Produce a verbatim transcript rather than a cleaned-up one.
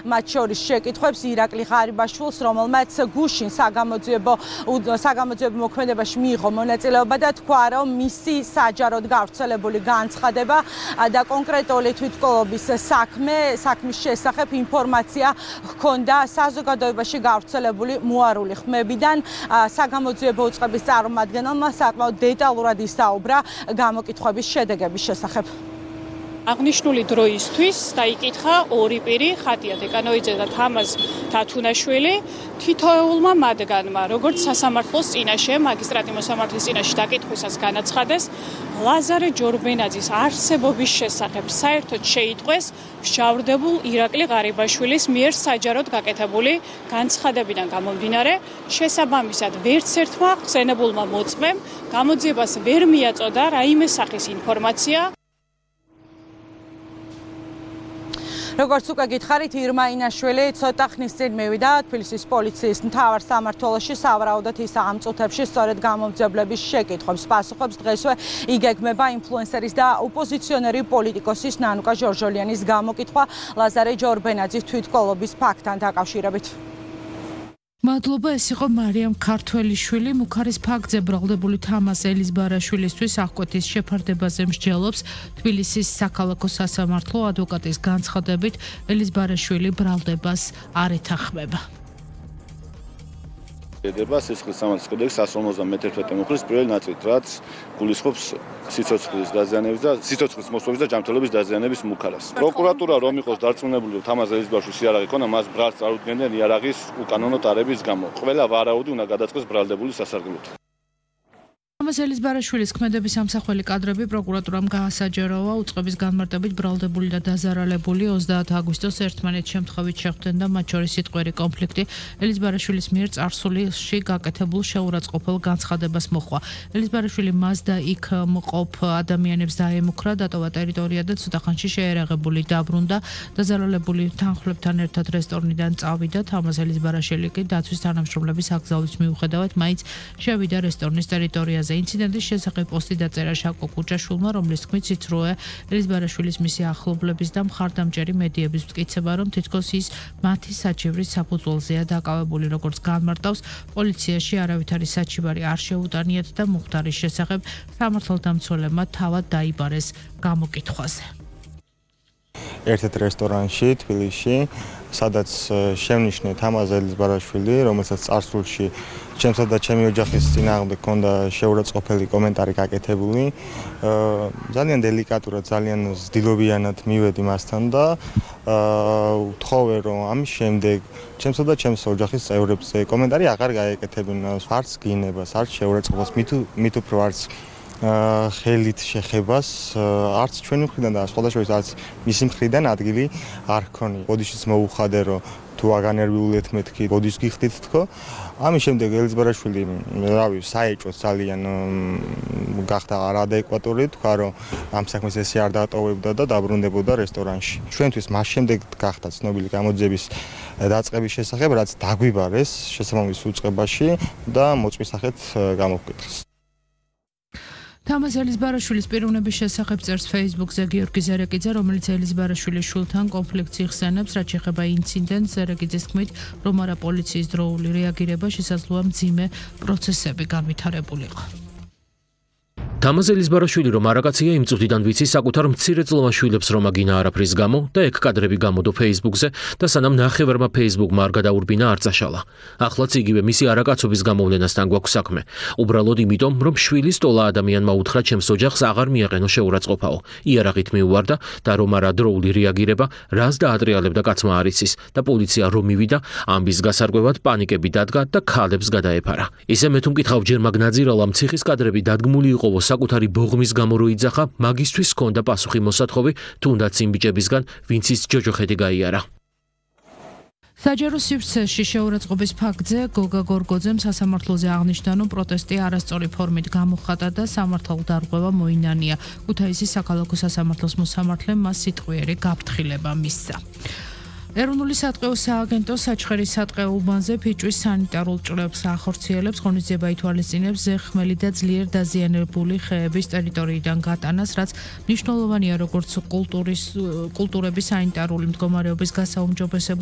მათ შორის შეკითხვებს ირაკლი ღარიბაშვილს, რომელმაც გუშინ საგამოძიებო საგამოძიებო მოქმედებაში მიიღო მონაწილეობა და თქვა, რომ მისი საჯაროდ გავრცელებული განცხადება და კონკრეტული თვითმკვლელობის საქმე, საქმის შესახებ ინფორმაცია ჰქონდა საზოგადოებაში გავრცელებული მოარული ხმებიდან. საგამოძიებო უწყების წარმომადგენელმა საკმაოდ დეტალურად ისაუბრა გამოკითხვების შედეგების შესახებ. აღნიშნული დროისთვის დაიკითხა ორი პირი, ხატია დეკანოიძე და თამაზ თათუნაშვილი, თითოეულმა მათგანმა, როგორც სასამართლოს წინაშე, მაგისტრატი მოსამართლის წინაშე დაკითხვისას განაცხადეს, ლაზარე ჯორბენაძის არსებობის შესახებ საერთოდ შეიტყვეს მსჯავრდებულ ირაკლი ღარიბაშვილის მიერ საჯაროდ გაკეთებული განცხადებიდან გამომდინარე, შესაბამისად ვერც ერთმა ხსენებულმა მოწმემ გამოძიებას ვერ მიაწოდა რაიმე სახის ინფორმაცია. როგორც უკვე გითხარით, ირმა ინაშვილი ცოტა ხნის წინ მივიდა თბილისის პოლიციის მთავარ სამმართველოში სავარაუდოდ ის ამ წუთებში სწორედ გამომძიებლების შეკითხვებს პასუხობს. დღესვე იგეგმება ინფლუენსერის და ოპოზიციონერი პოლიტიკოსის ნანუკა ჟორჟოლიანის გამოკითხვა ლაზარე ჯორბენაძის თვითმკვლელობის ფაქტთან დაკავშირებით. მადლობა, ეს იყო მარიამ ქართველიშვილი. მუქარის ფაქტზე ბრალდებული თამაზ ელიზბარაშვილისთვის აღკვეთის შეფარდებაზე მსჯელობს თბილისის საქალაქო სასამართლო. ადვოკატის განცხადებით ელიზბარაშვილი ბრალდებას არ ეთანხმება. ედება სისხლის სამართლის კოდექსის εκατს ორმოცდამეთერთმეტე მუხლის პირველი ნაწილით, რაც გულისხმობს სიცოცხლის დაზიანების და სიცოცხლის მოსვლების და ჯანმრთელობის დაზიანების მუქარას. პროკურატურა რომ იყოს დარწმუნებული, რომ თამაზ ელიზბარაშვილს იარაღი ქონა, მას ბრალს არ უდგენდნენ იარაღის უკანონო ტარების გამო. ყველა ვარაუდი უნდა გადაწყდეს ბრალდებული სასარგებლოდ. თამაზ ელიზბარაშვილის ქმედების ამსახველი კადრები პროკურატურამ გაასაჯაროვა უწყების განმარტებით ბრალდებული და დაზარალებული ოცდაათი აგვისტოს ერთმანეთს შემთხვევით შეხვდნენ და მათ შორის სიტყვიერი კონფლიქტი ელიზბარაშვილის მიერ წარსულში გაკეთებულ შეურაცხყოფელ განცხადებას მოჰყვა. ელიზბარაშვილი მას და იქ მყოფ ადამიანებს დაემუქრა, დატოვა ტერიტორია და ცოტა ხანში შეერაღებული დაბრუნდა. დაზარალებული თანხმლებთან ერთად რესტორნიდან წავიდა. თამაზ ელიზბარაშვილი კი დაცვის თანამშრომლების აკრძალვის მიუხედავად მაინც შევიდა რესტორნის ტერიტორიაზე. ინციდენტის შესახებ პოსტი დაწერა შაკო კუჭაშვილმა, რომლის თქმით სიცრუე ელიზბარაშვილის მისი ახლობლების და მხარდამჭერი მედიების მტკიცება, რომ თითქოს ის მათი საჩივრის საფუძველზეა დაკავებული. როგორც განმარტავს, პოლიციაში არავითარი საჩივარი არ შეუტანიათ და მუხტარის შესახებ სამართალდამცველებმა თავად დაიბარეს გამოკითხვაზე. ერთ-ერთ რესტორანში თბილისში, სადაც შევნიშნე თამაზ ელიზბარაშვილი, რომელსაც წარსულში ჩემსა და ჩემი ოჯახის წინააღმდეგ ჰქონდა შეურაცხყოფელი კომენტარი გაკეთებული. ძალიან დელიკატურად, ძალიან ზდილობიანად მივედი მასთან და ვთხოვე, რომ ამის შემდეგ ჩემსა და ჩემს ოჯახის წევრებს კომენტარი აღარ გაეკეთებინ, არც გინებას, არც შეურაცხყოფას, მით უფრო არც ხელით შეხებას, არც ჩვენი მხრიდან და სხვადასხვა არც მისი მხრიდან ადგილი არ ჰქონია. ბოდიშიც მოუხადე, რომ თუ აგანერვიულეთ მეთქი, ბოდიშს გიხდით თქო. ამის შემდეგ ელიზბარაშვილი, რავი, საეჭვოდ ძალიან გახდა არადეკვატური, თქვა, რომ ამ საქმეს ესე არ დატოვებდა და დაბრუნდებოდა რესტორანში. ჩვენთვის მას შემდეგ გახდა ცნობილი გამოძიების დაწყების შესახებ, რაც დაგვიბარეს შესაბამის უწყებაში და მოწვის სახით გამოვკვეთეს. თამაზ ელიზბარაშვილის პიროვნების შესახებ წერს Facebook-ზე გიორგი ზერეკიძე, რომელიც ელიზბარაშვილის შვილთან კონფლიქტს იხსენებს, რაც შეეხება ინციდენტს. ზერეკიძის თქმით, რომ არა პოლიციის დროული რეაგირება შესაძლოა მძიმე პროცესები განვითარებულიყო. თამაზ ელიზბარაშვილი რომ არაკაცია იმ წუთიდან ვიცი საკუთარ მცირეწლოვან შვილებს რომ აგინა არაფრის გამო და ეგ კადრები გამოდო Facebook-ზე და სანამ ნახევარმა Facebook-მა არ გადაურბინა არ წაშალა. ახლაც იგივე მისი არაკაცობის გამოვლენასთან გვაქვს საქმე. უბრალოდ იმიტომ რომ შვილი სტოლა ადამიანმა უთხრა ჩემს ოჯახს აღარ მიაყენო შეურაცხყოფაო. იარაღით მიუვარდა და რომ არა დროული რეაგირება რას დაატრიალებდა კაცმა არ იცის და პოლიცია რომ მივიდა ამბის გასარკვევად პანიკები დადგა და ქალებს გადაეფარა. ისე მე თუ მკითხავ ჯერ მაგნაძირალა მციხის კადრები დადგმული იყო საკუთარი ბოღმის გამო რო იძახა, მაგისთვის ჰქონდა პასუხი მოსათხოვი, თუნდაც იმ ბიჭებისგან, ვინც ის ჯოჯოხეთი გაიარა. საჯარო სივრცეში შეურაცხყოფის ფაქტზე გოგა გორგოძემ სასამართლოზე აღნიშნა, რომ პროტესტი არასწორი ფორმით გამოხატა და სამართალდარღვევა მოინანია. ქუთაისის საქალაქო სასამართლოს მოსამართლემ მას სიტყვიერი გაფრთხილება მისცა. ეროვნული სატყეო სააგენტო საჩხერის სატყეო უბანზე ფიჭვის სანიტარულ ჭრილებს ახორციელებს, ღონისძიება ითვალისწინებს ზეხმელი და ძლიერ დაზიანებული ხეების ტერიტორიიდან გატანას, რაც მნიშვნელოვანია როგორც კულტურის კულტურების სანიტარული მდგომარეობის გასაუმჯობესებლად,